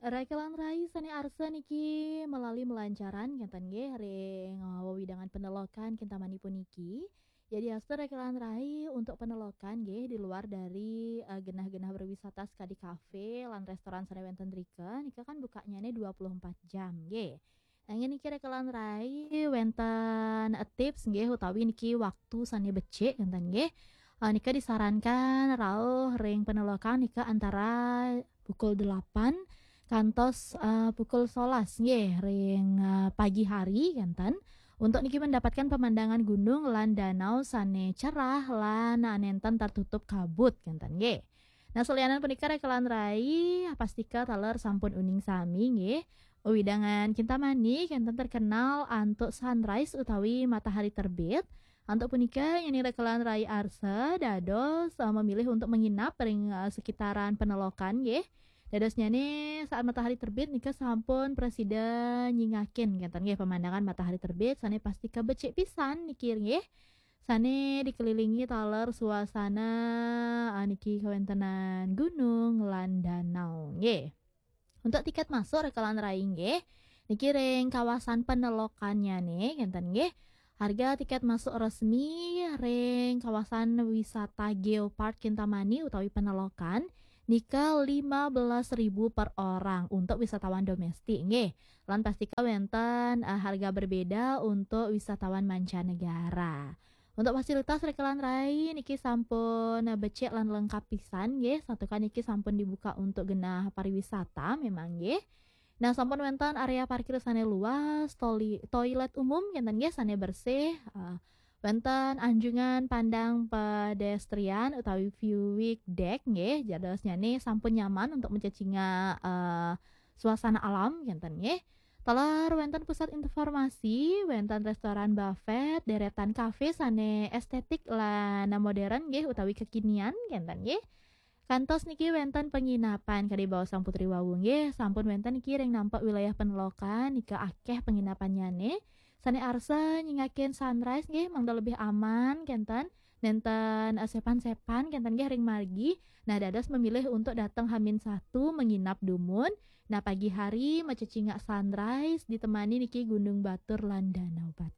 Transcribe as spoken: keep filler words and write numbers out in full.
Rekelan rai sane arsa niki melalui melancaran ngenten nggih ring, eh, wewidangan Penelokan Kintamani puniki. Jadi arsa rekelan rai untuk Penelokan nggih di luar dari, eh, genah-genah berwisata sekadi kafe lan restoran sane wenten rika, nika kan bukanyane dua puluh empat jam nggih. Nanging niki rekelan rai wenten, eh, tips nggih utawi niki waktu sane becik ngenten nggih. Eh, nika disarankan rauh ring Penelokan nika antara pukul delapan kantos, eh, pukul sebelas nggih ring, eh, pagi hari ngenten. Untuk niki mendapatkan pemandangan gunung lan danau sane cerah lan, eh, nenten tertutup kabut ngenten nggih. Nah, salianan punika rekelan rai, pastika taler sampun uning sami nggih. Wewidangan Kintamani kenten terkenal antuk sunrise utawi matahari terbit. Antuk punika, nyeni rekelan rai arsa dados, eh, memilih untuk menginap ring, eh, sekitaran Penelokan nggih. Dadosnyane saat matahari terbit nika sampun prasida nyingakin ngenten nggih pemandangan matahari terbit sane pastika becik pisan niki nggih. Sane dikelilingi taler suasana, eh, niki kawentenan gunung lan danau nggih. Untuk tiket masuk rekelan rai nggih, niki ring kawasan Penelokannyane ngenten nggih. Harga tiket masuk resmi ring kawasan wisata Geopark Kintamani utawi Penelokan nika lima belas ribu per orang untuk wisatawan domestik nggih. Lan pastika wenten, eh, harga berbeda untuk wisatawan mancanegara. Untuk fasilitas rekelan rai niki sampun, eh, becik lan lengkap pisan nggih. Santukan niki sampun dibuka untuk genah pariwisata memang nggih. Nah, sampun wenten area parkir sane luas, toli-, toilet umum ngenten nggih sane bersih, eh, wenten anjungan pandang pedestrian utawi viewing deck nggih. Jadosnyane sampun nyaman untuk mencecingak, eh, suasana alam ngenten nggih. Taler wenten pusat informasi, wenten restoran buffet, deretan kafe sane estetik lan modern nggih utawi kekinian ngenten nggih. Kantos niki wenten penginapan kadi baos Sang Putri wau nggih, sampun wenten niki ring nampek wilayah Penelokan nika akeh penginapannyane. Sane arsa nyingakin sunrise nggih mangda lebih aman kenten. Nenten, eh, sepan-sepan kenten nggih ring margi. Nah, dados memilih untuk dateng hamin satu menginap dumun. Nah, pagi hari macecingak sunrise ditemani niki Gunung Batur lan Danau Batur.